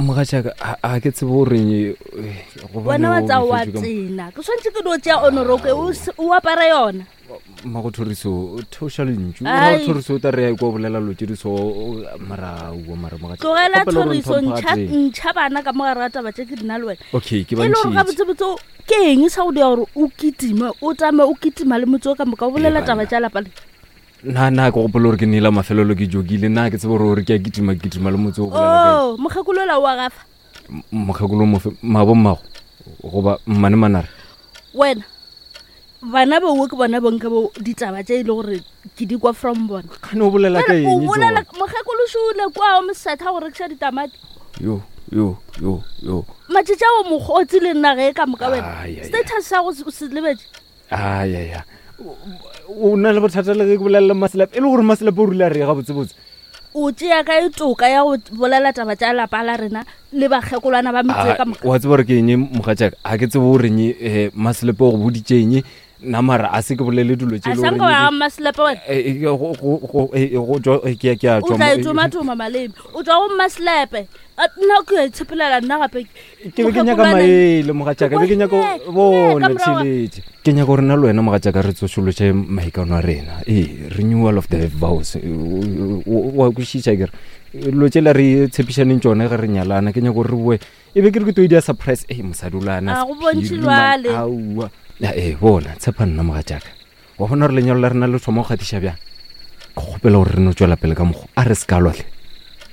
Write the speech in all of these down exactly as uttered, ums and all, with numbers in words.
Mogatšaka a ke tsebe goreng wena wa tsa wa tsena ke tshwanetse ke dio tšea onoroke o apare yona. Mmago Thoriso theoša lentšu Thoriso o tla re ya kwa bolela lo tše di so mara ua mara mogatšaka. Tlogela Thoriso ntšha ntšha bana ka mogare ga taba tše ke dina le wena. Okay ke ba ntšhitše. E le gore gabotsebotse ke eng sa go dira gore o kitime o tame o kitima le motse o ka moka o bolela taba tša lapa le? Nna nna ke gopola gore ke neela mafelelo ke jokile nna ke tsebe gore gore ke a kitima kitima le motse o bolela kae. Oh mokgekolo ola o a gafa. Mokgekolo mofe mabo mmago goba mmane manare? Wena bana bowe ke bona bonke bo ditaba tše e le gore ke di kwa from bona. Kgane o bolela ka eng? O bolela mokgekolo šole kwa o mosetha go rekiša ditamati. Yo yo yo yo. Matšatši ao mokgotsi le nna ge ka moka wena. Status sa go se lebetše. Ai ai ai. O na le bothata le ge ke bolelela Maselepe e le gore Maselepe o rile a re gabotsebotse. O tšea ka e toka ya go bolela taba tša lapa la rena le bakgekolwana ba metse ka moka. Wa tseba gore ke eng mogatšaka ga ke tsebe goreng um Maselepe o go boditše eng nna mara a se ke bolele dilo tše le gore wa Maselepe wena ke a o tla e tsomatoma maleme o tswa go Maselepe nna ke a itshepelela nna gape ke be ke nyaka maele mogatšaka be ke nyaka bona tšhelete ke nyaka gore nna le wena mogatšaka re tsošološe maikano a rena ee renewal of the vows wa kwešiša kere dilo tšela re tshepišaneng tšone ge re nyalana ke nyaka gore re boe e be ke re ke to e dia surprise e mosadi o lana a go bontšhe jwale aowa ee bona tshepa nna mogatšaka wa bona gore lenyalo la rena le thoma go kgatiša bjang ke kgopela gore re no tswela pele ka mokgwa a re se ka lwatle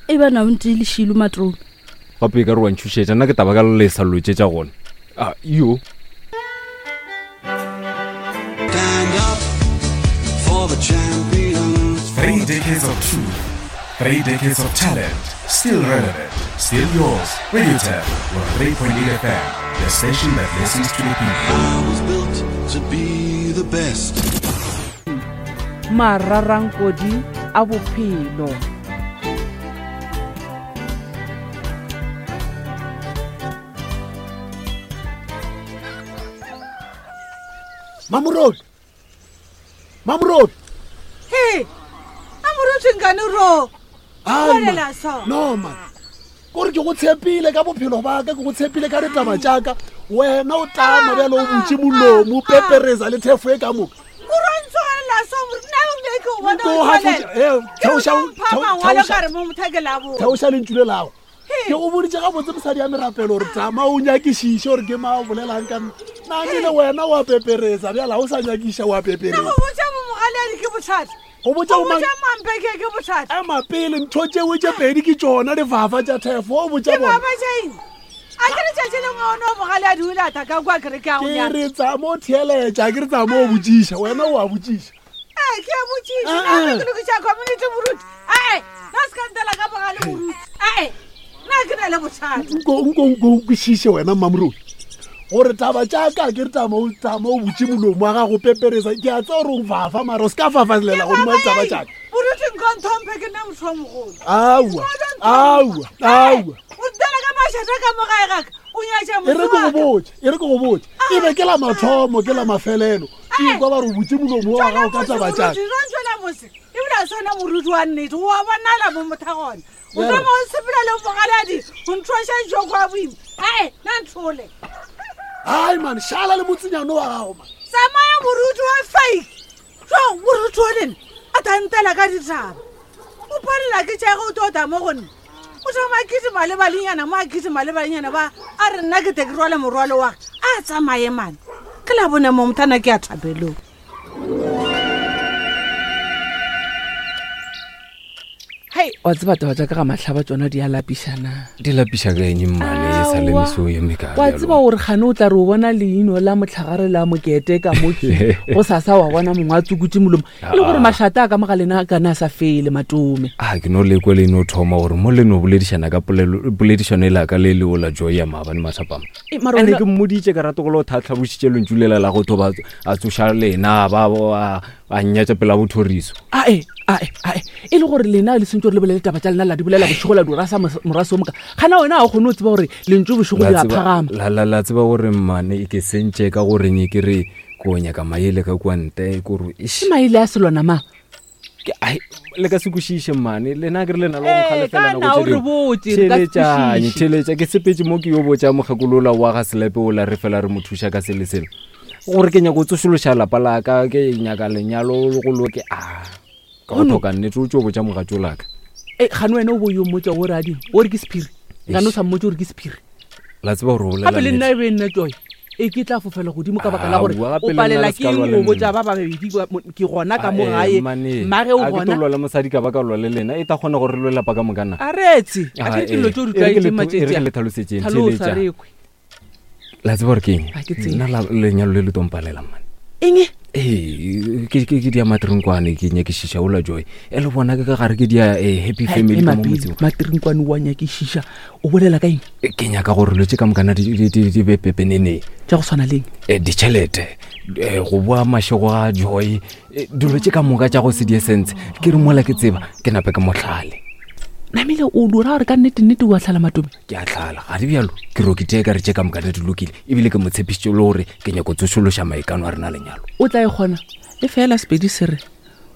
e bana o ntse le šilo matrone gape e ka re wa ntšhošetša nna ke taba ka lesa lo tše tša gona a yo. Three decades of truth, three decades of talent, still relevant, still yours. Radio Tab, one three point eight F M, the station that listens to the people. I was built to be the best. Mararankodi a bophelo. Mamorodi Mamorodi Hey Amorodi ngane ro bolela so no man gore ke go tshepile ka bophelo ba ka ke go tshepile ka ditaba tša ka wena o tama bjalo o butše molomo pepereza le thefo e ka moka theoša lentšu le lago ke go boditše gabotse mosadi ya merapelo gore tama o nyakišiše gore ke ma o bolelang ka nna namile wena wa pepereza bjala o sa nyakiša wa pepereza go botša ema pele ntho tšeo tše pedi ke tšona difafa tša thefo o botša bona ke re tsama o theeletša ke re tsama o botšiša wena o a botšiša ke a botšiša nna ke lokiša community moruti ae nna se ka ntela ka bogale moruti ae nna ke na le bothata nko nko nko kwešiše wena Mmamorodi gore taba tša ka ke re tama o tama o butše molomo wa gago peperesa ke a tseba gore o fafa mara o se ka fafalela godimo ga ditaba tša ka moruti nko ntlhomphe ke nna motho wa mogolo aowa aowa aowa o ntela ka mašata ka mo gae gaka o nyatša e re ke go botše e re ke go botše e be ke la mathomo ke la mafelelo ke kwa ba re o butše molomo wa gago ka taba tša ka ebile a swana moruti wa nnete oa bonala mo mothagona o tama o sepela le bogaladi o nthoša joko a boima ae nna nthole ai man šala le motsenyane wa gago man tsamaya moruti wa fake jo moruti o lena a tantela ka ditaba o palela ke tšage o tota mo go nna o thoma kitima le balenyana mo a kitima le balenyana ba a re nna ke te ke rwale morwalo wa a tsamaye mane ke la bone mo mothana ke a thapelong. Hei, wa tseba taba tša ka ga mahlaba tšona di a lapišana. Di lapiša ka eng mmale e sa le meso ye mekae? Wa tseba gore kgane o tla re o bona leino la mohlagare la mokete ka moki go sasa wa bona mongwe a tsukutše molomo e le gore mašata a ka mo ga lena a kana a sa fele matome. A ke no lekwe le no thoma gore mo le no boledišana ka poledišano e la ka le leo la joy ya maabane mathapama. Ene ke mmoditše ka rate go le o thathlabošitše lentšu lela la go thoba a tsoša lena ba a nnyatša pela bothoriso. Ae ae ae e le gore lena le sentse gore le bolele taba tša lena la di bolela bošego la di rasa moraso moka gana wena ga o kgone o tseba gore lentšu bošego le a phagama. La la la tseba gore mmane e ke sentše ka goreng e ke re ko nyaka maele ka kua ntle kore ke maele a selwana ma Ke- ai, le ka se kwešiše mmane lena ke re lena le Ee, ka na o re botse, re ka se theletšane kwešiše. theletša ke sepetse mo ke yo botša mokgekolola wa ga selepe ola re fela re mo thuša ka sele sele gore ke nyaka go tsošološa lapa la ka ke nyaka lenyalo le go loke a ka go tlhoka nnete o tso botša mogatso laka e gane wena o bo yo mmotsa o re a ding o re ke sephiri gane o sa mmotse gore ke sephiri la tseba gore o bolela gape le nna nnete. e be nna joy e ke tla fofela godimo ka baka la gore Aowa, gape o le nna palela le ke se ka eng lwa le go botša nna. ba babedi ba- mo- ke gona ka mo Ah, eh, gae mmane, mmage o a ke tlo gona lwa le mosadi ka ba ka lwa le lena e ta kgona gore re lwe lapa ka mokana a retse a ke dilo tse o di tlwaetseng e re ke le matšatši tlhalosetšeng tlhalosa theletša re kwe la tseba gore ke eng Ha ke tsebe. nna la- lenyalo le le tompalela mmane eng ee ke ke- ke dia matrinkwane ke nyakišiša ola joy e le bona ke ka gare ke dia eh, happy family ka mo motseng matrinkwane wa nyakišiša o bolela ka eng Eh, ke nyaka gore lo tse ka mokana di di- di- di be pepeneneng tša go tshwana leng Eh, ditšhelete eh, go boa mašego a joy eh, dilo tse ka moka tša go se die sense ke re mola ke tseba ke nape ke motlhale namile o dira gore ka nnete-nnete o a tlhala matome ke a tlhala ga di bjalo ke rokitee ka re tše ka mokana di lokile ebile ke mo tshepišitše le gore ke nyako tsošološa maikano a rena lenyalo o tla e kgona e fela sepedi se re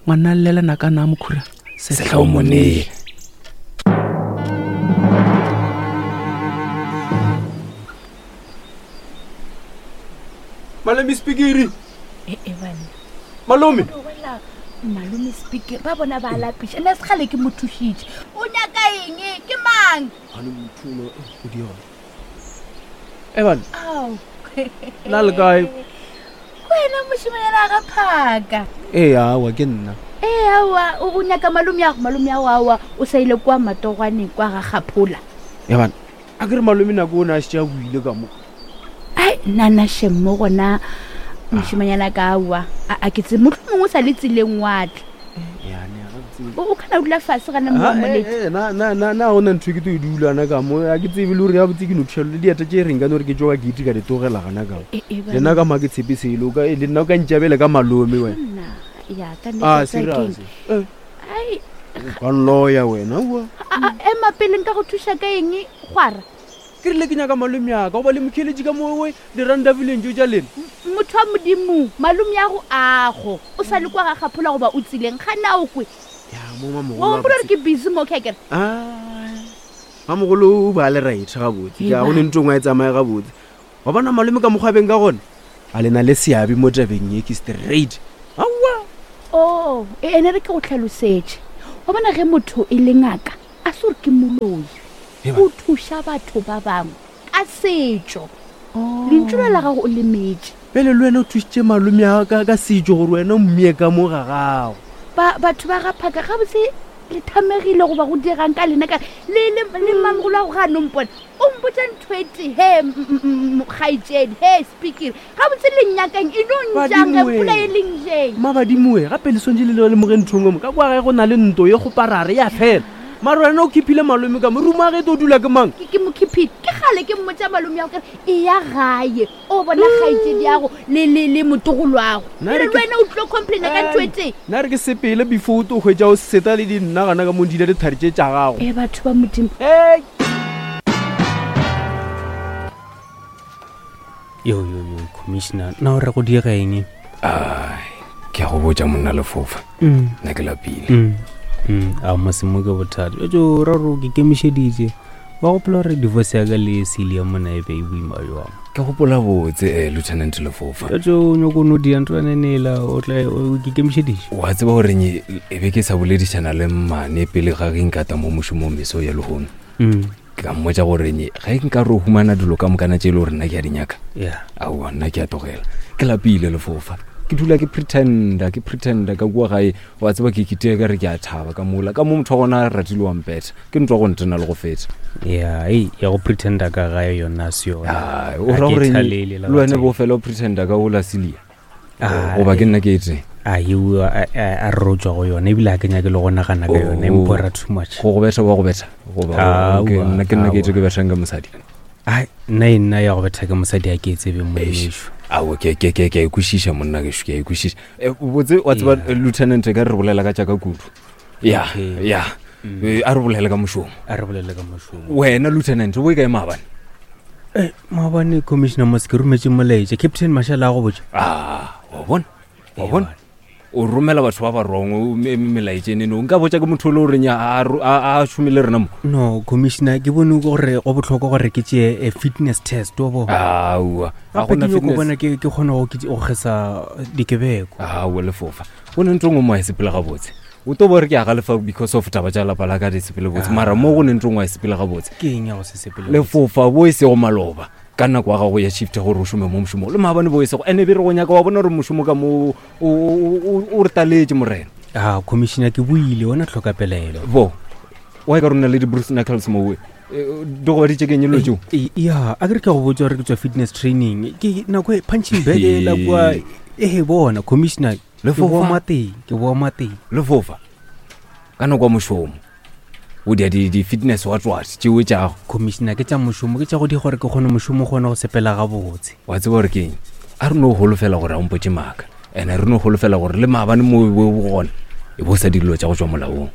ngwana llela nakana a mokhura sehlao monee Malome Spikiri, ee banna malome. Tlogelela malome speaker ba bona ba lapiša nna segale ke mo thušitše o nyaka eng ke mang Evan, ao la le kae? Ke wena mošimanyana ga phaka Ee, awa ke nna. ee aowa o o nyaka malome yago malome yago aowa o sa ile kwa matogwaneng kwa ga gaphola Evan, a ke re malome nako o ne a šetše a buile ka mo. ai nna shem mo gona mošimanyana ka aowa a a ke tse motlho mongwe o sa le tseleng watle o o kana o dula fase gana Ah, eh, mmoledi eh, na na na na gona ntho e ke to e dulana ka mo a ke tsebe le gore ya botse ke no thuša le dieta tše reng ka no re ke tsoka ke ite ka di tlogela gana ka mo. Eh, eh, le nna ka mo ha ke tshepe selo o ka le nna o ka ntjabele ka malome wena nna ya ka ah nnete tsa keng. serious Eh, ai o ka nloya wena oa a- a- ema pele nka go thuša ka eng gwara ke rile ke nyaka malome yaka goba le mokheletše ka mowe diranta vileng tšeo tša lena motho wa modimo malome ya go ago o sa le kwa ga gaphola goba o tsileng ga na o kwe ya mo wa mamogolo gopola gore ke busy mo kekere mamogolo o ba le right gabotse ke a go ne ntho ngwe a e tsamaye gabotse wa bona malome ka mokgwa a beng ka gona a lena le seabe mo tabeng ye ke straight aowa o ene re ke go tlhalosetše wa bona ge motho e le ngaka a se gore ke moloi o thuša batho ba bangwe ka setšo lentšu le la gago o lemetše pele le wena o thušitše malome ya ka ka setšo gore wena o mmie ka mo ga gago Ba- batho ba ga phaka gabotse le thamegile goba go dirang ka lena ka le le le mmamogolo wa go ga no mpona o mpotsa ntho e tee he kgaitsedi he speaker gabotse le nnyakang e no njang ge Badimo pula we. e leng jeng mabadimoe gape le swantse le lemoge nthong mo ka kwa gae go na le nto ye kgoparare ya fela mare wena o khiphile malome ka mo ruma ge to dula ke mang ke ke mokhiphile ke gale ke mmotsa malome ya go kere e ya gae o bona kgaitsedi yago le le le motogolwago Nna ere re le ke- wena o tlilo complaina ka ntho e tee nna re ke sepele before o to hwetša o seta le dinna gana ka mo dile dithari tše tša gago e batho ba modimo Hey! yo yo yo commissioner na o re go diega eng ai ke a go botša monna lefofa Mm. nna ke lapile Mm, mm, a mosemo ke bothata etso ra gore ke kemišeditše ba gopola gore divorce ya ka le celia mona e be e boima jwang ke gopola botse um lieutenant lefofa etso o nyako no dia ntho anenela o tla o- ke kemišeditše wa tseba goreng e be ke sa boledišana le mmane pele ga ge nkata mo mošomong meso ya lehono Mm, ke ka mmotša goreng ge nka re o humana dilo ka mokana tše e le gore nna ke a di nyaka ya aowa nna ke a tlogela ke lapile lefofa ke dula ke pretenda ke pretenda ka kua gae wa tseba ke kitee ka re ke a thaba ka mola ka mo motho wa gona a ratile wa mpetha ke ntwa go ntena le go feta ya ei ya go pretenda ka gae yona a se yona Ai, o Ha ra ke goreng thalele le wena gatee. bo fela o pretenda ka ola celia Ah, goba ke nna ke e tee a eo a a re o tswa go yona ebile a ke nyake le go nagana ka yona Oh. empora too much go go betha wa go betha goba Aowa, ke nna ke nna ke ete aowa. ke bethang ka mosadi ai nna e nna ya go betha ke mosadi a ke e tsebe moemešo ao ke ke ke ke a ikwešiša monna gešo ke a ikwešiša Eh, botse wa tseba Yeah. eh, lieutenant ka re re bolela ka tšaka kudu ya Okay. ya Eh, a re bolele ka mošomo a re bolele ka mošomo wena lieutenant o e kae maabane Eh, maabane commissioner mos ke rometse molaetša captain mashala a go botša a wa bona wa bona O romela batho ba ba wrong melaetšenene. Nka botša ke motho o le goreng a a šome le rena mo. No, commissioner, ke bone gore go botlhokwa gore ke tšee a fitness test, wa bona. Aowa, ga Gape gona ke nyako fitness. bona ke ke kgone go ke- go kgesa dikebeko. Aowa, lefofa, go ne ntho ngwe mo a e sepele gabotse. O to bo re ke a galefa because of taba tša lapa la ka di sepele botse, mara mo go ne ntho ngwe a e sepele gabotse. Ke eng ya go se sepele? Lefofa, bo e sego maloba ka nako ya gago ya shift gore o šome mo mošomong le maabane bo e sego, ande be re go nyaka wa bona gore mošomo ka mo o- o o- o re taletše morena. A commissioner, ke buile ona tlhokapelaelo. Bo wa e ka rona le di-bruce knuckles mowe di gobaditše keng elo tšeo? E- ya, a ke re ke go botsa gore ke tswa fitness training, ke nako e punching bag e la kua e bona, commissioner, ke Lefofa. boa mateng, ke boa mateng. Lefofa, ka nako ya mošomo o dia di- di-fitness wa tswat tšeo tšago. Commissioner, ke tša mošomo, ke tša go di gore ke kgone mošomo kgone go sepela gabotse. Wa tseba gore ke eng, a re no holofela gore a mpotse maaka, and-e re no holofela gore le maabane mo o gona e bo sa dilo tša go tswa molaong.